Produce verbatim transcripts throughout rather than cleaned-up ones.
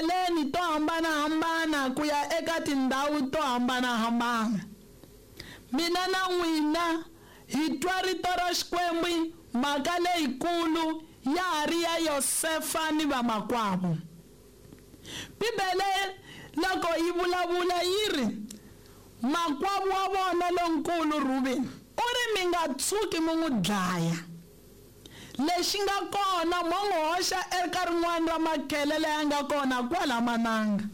Etindleleni to hambanahambana ku ya eka tindhawu to hambanahambana. Mina na n'wina hi twa rito ra Xikwembu, mhaka leyikulu ya ha ri ya Yosefa ni vamakwavo. Bibele loko yi vulavula yi ri makwavo wa vona lonkulu Rubeni u ri mi nga tshuki mi n'wi dlaya. Lexi nga kona mo n'wi hoxa eka rin'wana ra makhele leyi nga kona kwala mananga.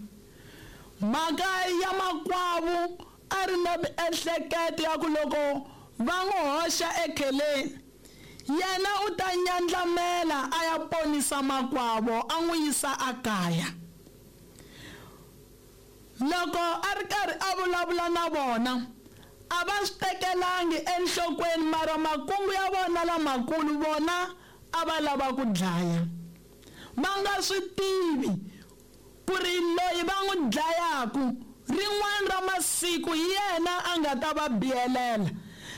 Mhaka ya makwavo a ri na miehleketo ya ku loko va n'wi hoxa ekheleni yena u ta nyandlamela a ya ponisa makwavo a n'wi yisa akaya. Loko a ri karhi a vulavula na vona a va swi tekelangi enhlokweni, mara makungu ya vona lamakulu vona a va lava ku dlaya. Va nga swi tivi ku ri loyi va n'wi dlayaku rin'wana ra masiku hi yena a nga ta va biyelela,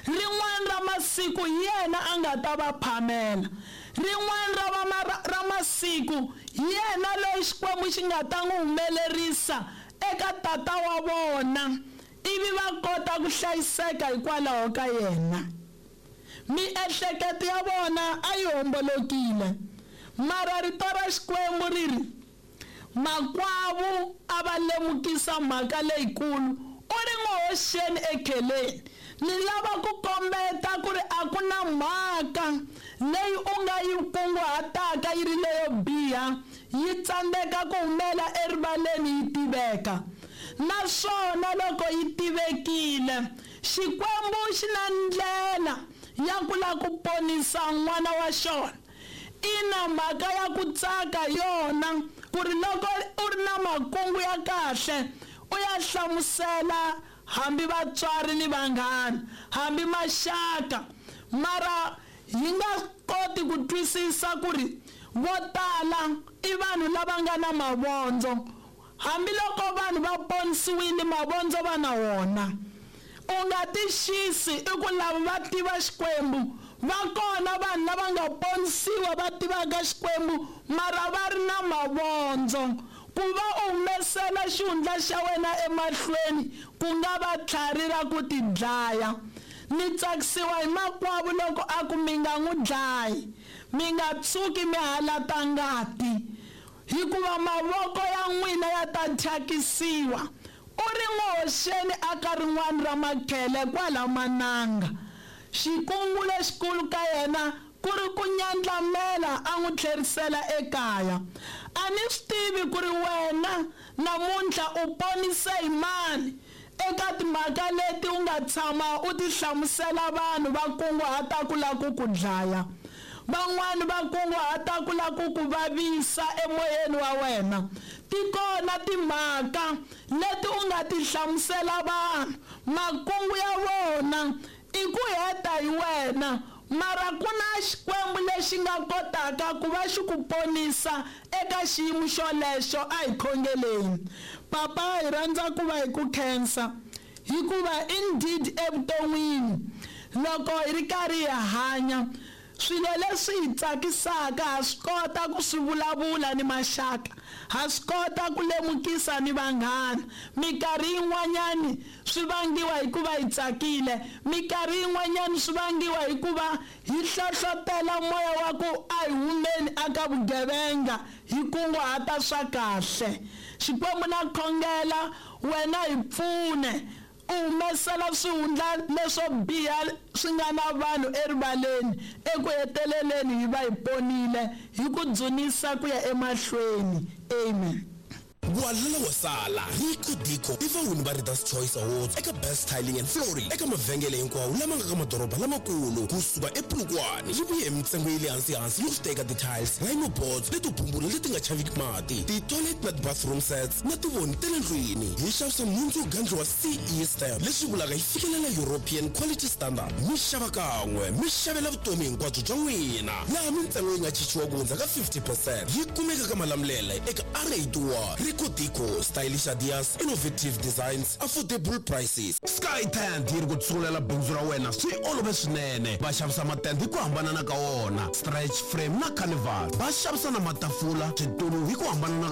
rin'wana ra masiku hi yena a nga ta va phamela, rin'wana ra va ra masiku hi yena loyi Xikwembu xi nga ta n'wi humelerisa eka tata wa vona ivi va kota ku hlayiseka hikwalaho ka yena. Miehleketo ya vona a yi hombolokile, mara rito ra Xikwembu ri ri makwavo a va lemukisa mhaka leyikulu, u ri n'wi hoxeni ekheleni. Ni lava ku kombeta ku ri a ku na mhaka leyi u nga yi kunguhataka yi ri leyo biha yi tsandzeka ku humela erivaleni yi tiveka. Naswona loko yi tivekile, Xikwembu xi na ndlela ya ku lava ku ponisa n'wana wa xona. Ina mhaka ya ku tsaka yona ku ri loko u ri na makungu ya kahle u ya hlamusela hambi vatswari ni vanghana hambi maxaka, mara hi nga koti ku twisisa ku ri vo tala i vanhu lava nga na mavondzo. Hambiloko vanhu va ponisiwile mavondzo va na wona. U nga tixisi i ku lava va tiva Xikwembu, va kona vanhu lava nga ponisiwa va tivaka Xikwembu mara va ri na mavondzo. Ku va u humesela xihundla xa wena emahlweni ku nga va tlhari ra ku tidlaya. Ni tsakisiwa hi makwavo loko a ku mi nga n'wi dlayi, mi nga tshuki mi halata ngati, hikuva mavoko ya n'wina ya ta thyakisiwa. U ri n'wi hoxeni aka rin'wana ra makhele kwala mananga. Xikungu lexikulu ka yena ku ri ku nyandlamela a n'wi tlherisela ekaya. A ni swi tivi ku ri wena namuntlha u ponise hi mani eka timhaka leti u nga tshama u ti hlamusela vanhu va kunguhata ku lava ku ku dlaya, van'wani va kunguhata ku lava ku ku vavisa emoyeni wa wena. Ti kona timhaka leti u nga ti hlamusela vanhu, makungu ya vona i ku heta hi wena, mara ku na Xikwembu lexi nga kotaka ku va xi ku ponisa eka xiyimo xolexo. A hi khongeleni. Papa, hi rhandza ku va hi ku khensa hikuva indeed evuton'wini loko hi ri karhi hi hanya swilo leswi hi tsakisaka ha swi kota ku swi vulavula ni maxaka, ha swi kota ku lemukisa ni vanghana. Minkarhi yin'wanyani swi vangiwa hikuva hi tsakile, minkarhi yin'wanyani swi vangiwa hikuva hi hlohlotela moya wa ku a hi humeni aka vugevenga hi kunguhata swa kahle. Xikwembu na khongela wena hi pfune u humesela swihundla leswo biha swi nga na vanhu erivaleni, eku heteleleni hi va hi ponile hi ku dzunisa ku ya emahlweni. Amen. Walala wa sala Rico Dico i vawini va Readers Choice Awards eka Best Tiling and Flooring eka mavhengele hinkwawo lama nga ka madoroba lamakulu kusuka ePolokwane. Yi vuye hi mintsengo ya le hansi hansi yo teka ti-tiles, rhino boards leto bumbula leti nga chaviki mati, ti-toilet na ti-bathroom sets na tivoni ta le ndlwini. Hi xavisa nhundzu yo gandliwa C E stamp, leswi vulaka yi fikelela European quality standard. Mi xava kan'we mi xavela vutomi hinkwabyo bya n'wina, laha mintsengo yi nga chichiwa ku hundza ka fifty percent. Yi kumeka ka Malamulele eka R eighty-one. Rico Dico, stylish ideas, innovative designs, affordable prices. Sky Tent yi ri ku tsungulela bindzu ra wena swi olove swinene. Va xavisa matende hi ku hambanana ka wona, stretch frame na carnival. Va xavisa na matafula, switulu hi ku hambanana.